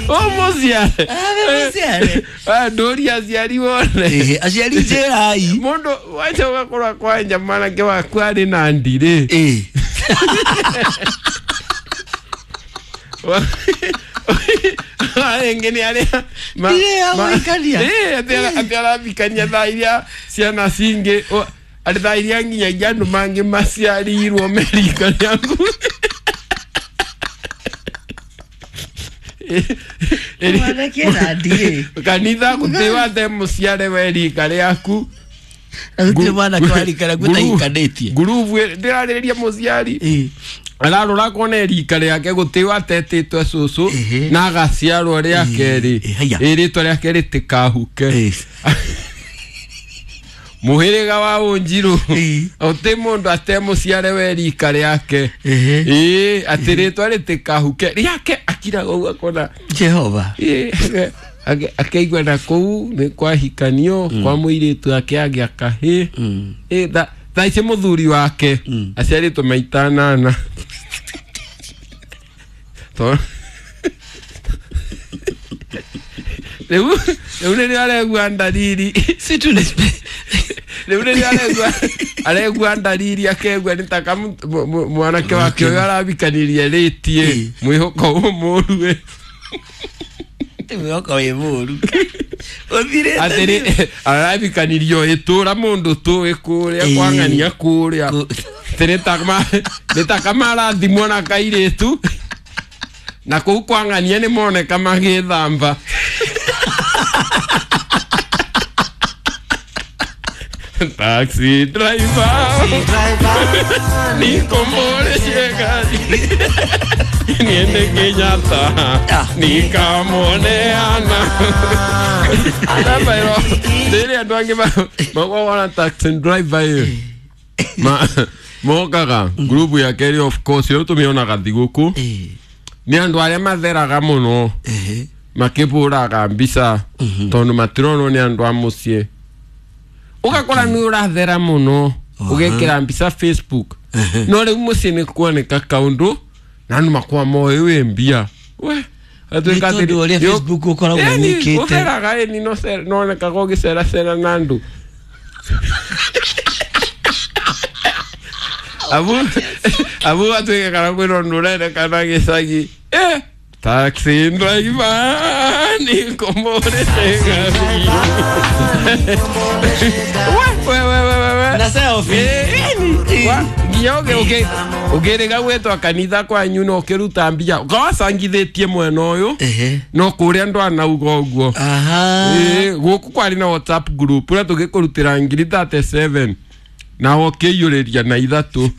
Umuciare. Abe muciare. Ndũria aciari wone. Ehe, aciari njĩrai. Mũndũ wacha ũgakora kwanja mwanake waku arĩ na ndirĩ. Rĩngĩ nĩ arĩa Ndirĩ ya gũikania. Atĩ arathikania thaa iria ciana cingĩ atĩ thaa iria nginyagia andũ mangĩ maciarirwo me rika rĩaku. Mwanake na ndirĩ. Kanitha gũtĩ wate mũciare we rika rĩaku. Na gũtirĩ mwanake wa rika rĩaku ũtahikanĩtie. Ngurubu ndĩrarĩrĩria mũciari ararora kona rika rĩake gũtĩ watetĩtwe cũcũ na agaciarwo rĩa kerĩ. Haiya. Ĩ rĩtwa rĩake rĩtĩkahuke. Mũhĩrĩga wa Ũnjirũ ũtĩ mũndũ atemũciare we rika rĩake. Ĩ atĩ rĩtwa rĩtĩkahuke rĩake akiraga ũguo akona Jehova. Ĩ, akeigua na kũu nĩ kwahikanio kwa mũirĩtu ake agĩa kahĩ. Ĩ, thaa ici mũthuri wake aciarĩtwo maita anana. Rĩu rĩrĩa aregua ndariri. Si tu ni Rĩu rĩrĩa aregua ndariri akegua nĩ ta mwanake wake ũyũ arabikanirie rĩtie mwĩhoko ũyũ mũru ĩ. Mwĩhoko wĩ mũru. Ũthirĩte Atĩrĩ arabikanirio ĩtũra mũndũ tũĩ kũrĩa kwang'ania kũrĩa. Atĩ nĩ ta kamarathimwo na kairĩtu na kũu kwang'ania nĩ moneka magĩthamba. Taxi driver, nikomboreshe gari niende Kenyatta nikamuoneana. Rĩrĩa andũ angĩ makoragwo na taxi driver ĩ mokaga ngurubu ya kerĩ, of course ĩyo tũmĩonaga thigũkũ nĩ andũ arĩa matheraga mũno makĩbũraga mbica tondũ matironwo nĩ andũ a mũciĩ. Ũgakora nĩ ũrathera mũno ũgekĩra mbica Facebook no rĩu mũciĩ nĩ kuoneka kaũndũ na andũ makoragwo moĩ wĩ mbia. We Nĩ tondũ ũrĩa Facebook ũkoragwo wĩkĩte. Ũtheraga ĩni nonekaga ũgĩceracera na andũ. Abu atuĩke kana kwĩna ũndũ ũrerekana gĩcagi. Taxi driver nikomboreshe gari. We. Na selfie. Nginya ũngĩrĩga gwĩtwa kanitha kwanyu na ũkĩruta mbia ũkawacangithĩtie mwena ũyũ no kũrĩa andũ anauga ũguo. Gũkũ kwarĩ na WhatsApp group ũrĩa tũgĩkũrutĩra ngiri 37 na ũkĩiyũrĩria na ithatũ.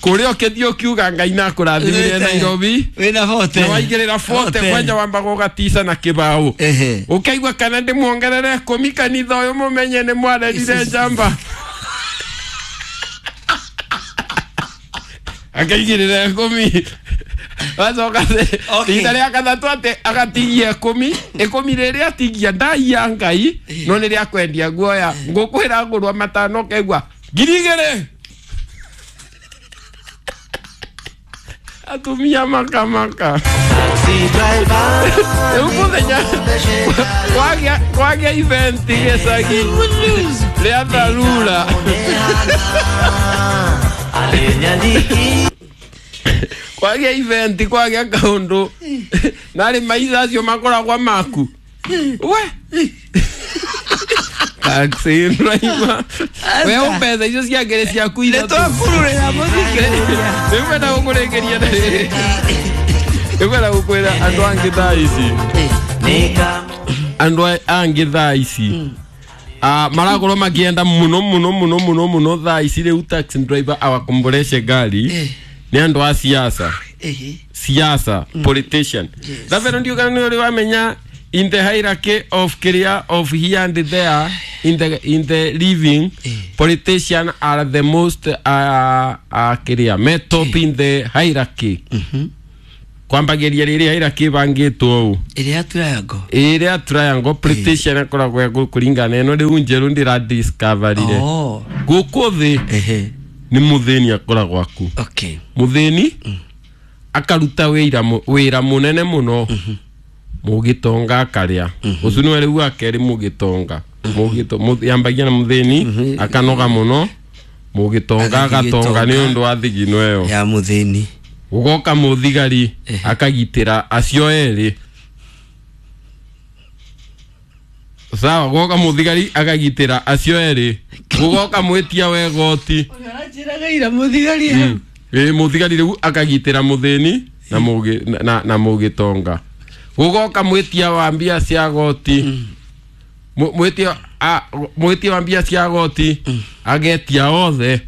Kũrĩa ũkĩthiĩ ũkiuga Ngai na akũrathimire Nairobi Wĩna bote. na waigĩrĩra bote kwanja wambaga ũgatica na kĩbaũ. Ũkaigua kana ndĩmuongerere ikũmi kanitha ũyũ mũmenye nĩ mwarerire njamba. Akaigĩrĩra ikũmi. Wacoka rita rĩa gatatũ atĩ agatigia ikũmi. Ikũmi rĩrĩa atigia ndaiya Ngai no nĩ rĩa kwendia guoya. Ngũkwĩra ngũrwa matano ũkaigua ngiri igĩrĩ. Atumia makamaka. Rĩu mũthenya kwagĩa event gĩcagi rĩa tharura. Kwagĩa event kwagĩa kaũndũ narĩ maica acio makoragwo maku. We taxi driver we mbeca icio ciangĩrĩ ciaku ithatũ. Nĩtwakururĩra mũthikĩrĩria. Rĩu wenda gũkũrĩkĩria na rĩrĩ. Rĩu wenda gũkwĩra andũ angĩ thaa ici. Andũ angĩ thaa ici marakorwo makĩenda mũno mũno mũno mũno mũno thaa ici rĩu taxi driver awakomboreshe gari nĩ andũ a siasa. Siasa politician. Thabero ndiũ kana nĩ ũrĩ wamenya in the hierarchy of career of here and there in the living politician are the most career me top in the hierarchy. Kwambagĩria rĩrĩa hierarchy bangĩtwo ũũ Ĩrĩa triangle. Ĩrĩa triangle politician akoragwo kũringana ĩno rĩu njerũ ndĩra discoverire. Gũkũ thĩ Nĩ mũthĩni akoragwo aku. Okay. Mũthĩni akaruta wĩra wĩra mũnene mũno, mũgĩtonga akarĩa. Ũcio nĩwe rĩu wa kerĩ. Mũgĩtonga yambagia na mũthĩni akanoga mũno, mũgĩtonga agathiĩ agatonga nĩ gĩtonga. ũndũ wa thigino ĩyo ya muthini. Gũgoka mũthigari akagitĩra acio erĩ, sawa. Gũgoka mũthigari akagitĩra acio erĩ. Gũgoka mwĩtia wa igoti. Ũranjĩraga ira muthigari. Ĩ, mũthigari rĩu akagitĩra mũthĩni na na mũgĩtonga. Gũgoka mwĩtia wa mbia cia goti. Mwĩtia wa mbia cia goti agetia othe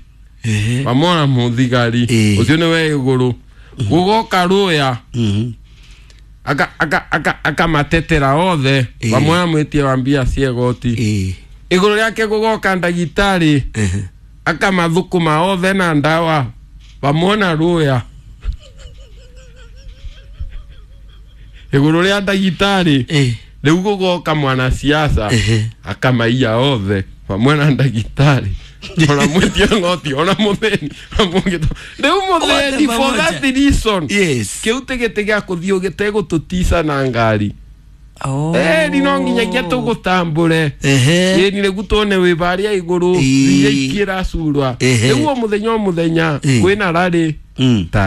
pamwe na mũthigari. Ũcio nĩwe igũrũ. Gũgoka rũya akamatetera othe pamwe na mwĩtia wa mbia cia goti. Igũrũ rĩake gũgoka ndagĩtarĩ akamathũkũma othe na ndawa pamwe na rũya. Igũrũ rĩa ndagĩtarĩ rĩu gũgoka mwanasiasa akamaiya othe pamwe na ndagĩtarĩ, ona mwĩtia ng'oti, ona mũthĩni, ona rĩu mũthĩni Othe for that pamoja. reason Yes. kĩu tĩ gĩtĩ gĩa kũthiĩ gĩtegũtũtica na ngari. Oh. Ĩni no nginyagia tũgũtambũre. Ĩni rĩu tuone wĩ barĩa igũrũ iria ikĩracurwa. Rĩu o mũthenya o mũthenya kwĩna rarĩ ta.